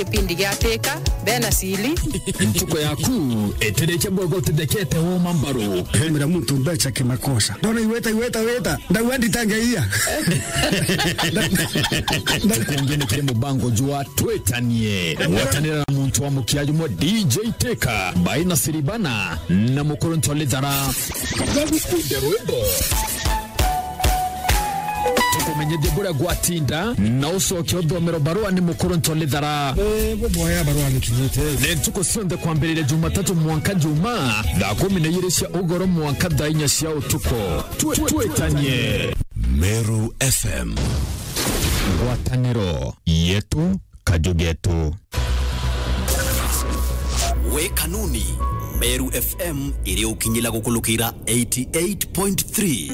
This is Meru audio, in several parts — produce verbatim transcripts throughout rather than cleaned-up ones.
Kipindi gia Teka, bena sili. Ntuko yaku, itirikia bwega utithekete woma mbaru. Hemera muntu mbeca kimakosa. Ndona iweta, iweta, weta. Ndauga nditangeia. Tukungi ni kiri mubango jwa Twitanie. Gwatanira na muntu wa mukia jumwe D J Teka, Baina Siribana, na Mukuru Ntolithara. Gagukunde rwimbo. Tukumenyithie buria gwatinda, na ucoke uthomero barua ni Mukuru Ntolithara. Eh, buboya barua ni kinyite. Ni ntuku cionthe kwambiriria Jumatatu mwanka Juma, thaa kumi na ijiri cia ugoro mwanka thaa inya cia utuku. Twi-, twitanie. Meru F M. Ngwataniro yetu, kaju getu. We kanuni, Meru F M iri ukinyila gukulukira eighty eight point three.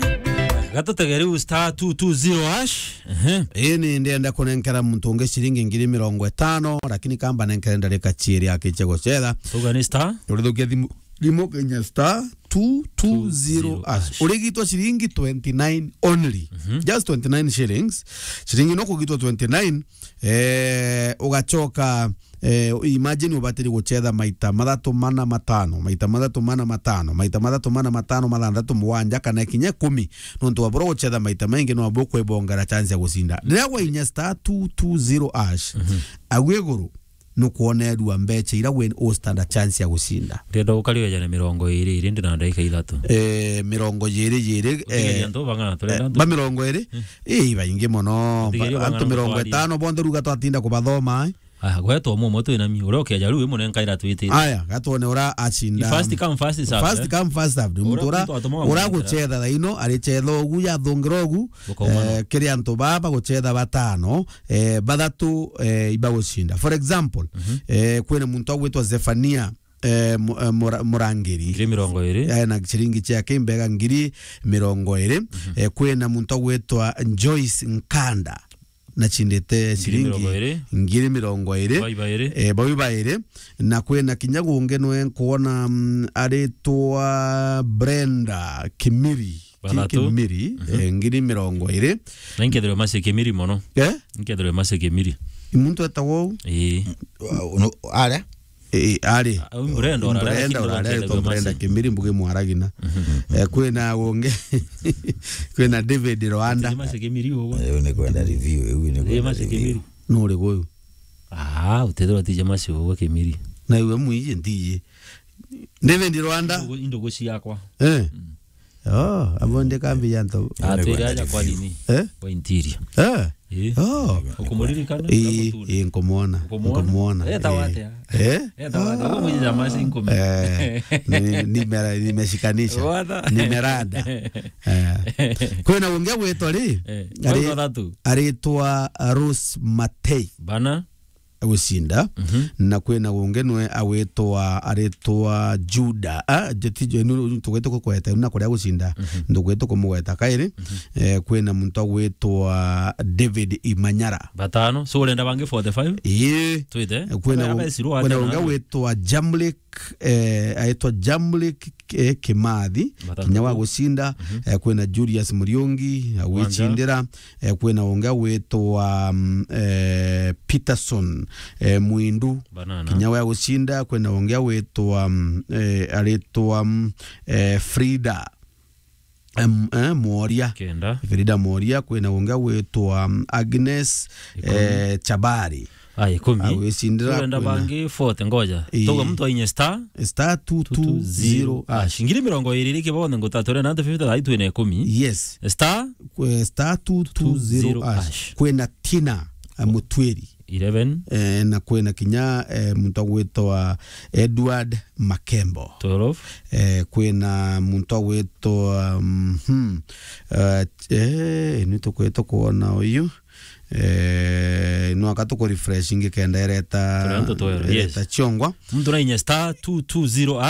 Gatutegere u star two two zero hash. Ehe. Ii ni ndienda kunenkera muntu ungi ciringi ngiri mirongo itano, lakini kamba nenkere ndarika ciiri akiche gucetha. Tuga ni star? Urithukia thimu, thimu kinya star two two zero hash. Urigitwa ciringi twenty nine only. Mhm. Just twenty nine shillings. Ciringi no kugitwa twenty nine, eh, ugacoka, eh, imagine ubatiri gucetha maita mathatu, mana, matano, maita mathatu, mana, matano, maita mathatu, mana, matano, mathanthatu, mugwanja, kana kinya ikumi. Nontu wa bura gucetha maita maingi, no bwa kwibongera chance ya gucinda. Riria wainya star two two zero hash, mhm, agu iguru, nukwona erua mbeca ira we u stand a chance ya gucinda. Ndienda gukariria jana mirongo iri iri ndi na ndagika ithatu. Eh, mirongo iri iri, utigeria eh, antu bang'ana, turenda eh, antu ba mirongo iri? Hmm. Ii, baingi mono. Utigeria antu bang'ana mirongo itano bonthe ruga twatinda kubathoma, eh. Aya, gwetwa mumwe twinami, uria ukeja riu imunenkaira twitite. Aya, gatwone ura acinda. First come, first serve, first eh? Come, first serve. Muntu ura, ura gucetha thaino, aricetha ugu, yathungira ugu, ukaumana, eh, kiri antu baba gucetha batano, eh, bathatu, eh, ibagucinda. For example, mhm, eh, kwina muntu agwitwa Zefania, eh, mu-, eh, Mura-, Murangiri. Ngiri mirongo iri. Eh, na ciringi ciake imbega ngiri mirongo iri. Mhm. Eh, kwina muntu agwitwa Joyce Nkanda. Nachindite ciringi ngiri mirongo iri. Ngiri mirongo iri. Bau ibairi. Eh, bau ibairi. Na kwina kinya gungi nwe nkwona, mm, aritwa Brenda Kimiri. Bathatu. Kimiri, mhm, eh, ngiri mirongo iri. Na inkethirwe maci Kimiri mono. Eh? Inkethirwe maci Kimiri. Muntu etagwa uu? Ii. Wa-, uno-, aria? Eh, ari. Ah, uu Brenda urare, Brenda lakini urare, ndwakethagua Brenda maci. Kimiri mbuge mwaragina. Mhm. Eh, kwina gungi, kwina David Rwanda. Ati maci Kimiri ugwe. Riu ni kwenda review, riu ni kwenda maci review. Kimiri. Nuri guyu? Ah, utethirwa tije maci ugwe Kimiri. Na iwe mwiji ntiji. David Rwanda. Indogo, indogo ciakwa. Eh. Mm. Oh, abo ndi kambi ya nto. Ah, twiri aja kwa nini? Eh? Kwa interior. Eh? Eh. Oh. Ukumuririkana? Eh, eh, nkumwona. Nkumwona? Nkumwona. Eh, tawate. Eh? Eh, tawate. Uko mwiji ya maci nkume. Eh, ni-, nimera-, nimeshikanisha. Wata. Nimerada. Eh. Kwina ungi agwitwa ri? Eh. Ari-, kwina thatu. Aritwa Rose Matei. Bana. Gucinda. Mhm. Na kwina ungi nwe agwitwa, aritwa Juda. Ah, jeti jo, nu-, nu-, tugwite kukweta, na kuria gucinda. Mhm. Ndugwite kumugweta kairi. Mhm. Eh, kwina muntu agwitwa David Imanyara. Batano. So, urenda bangi forty-five? Ii. Twite. Eh, kwina, kwina ungi agwitwa Jamlik, eh, aitwa Jamlik, eh, Kimathi, batano. Kinya wa gucinda. Mhm. Eh, kwina Julius Muriungi, agwicindira. Eh, kwina ungi agwitwa, mm, eh, Peterson, eh, Mwindu. Banana. Kinya wa gucinda, kwina ungi agwitwa, mm, eh, aritwa, mm, eh, Frida, em, eh, Mworia. Kenda. Frida Mworia, kwina ungi agwitwa, mm, Agnes, ikumi. Eh, Chabari. Aya, ikumi. Agwicindira. Urenda kwina bangi forty, ngoja. Ii. Tauga muntu ainye star. Star two two zero hash. Ngiri mirongo iri riki bonthe ngutatu, urenda antu fifty, thai twina ikumi. Yes. Star. Kwe star two two zero hash. Kwina Tina, eh, Mutwiri. Eleven. Eh, na kwina kinya, eh, muntu agwitwa Edward Makembo. Twelve. Eh, kwina muntu agwitwa, mhm, eh, eh, ni tukwita kwona uyu. Eh, no aka tuku refresh ingi kenda ireta, ireta ciongwa. Muntu nainye star two two zero hash.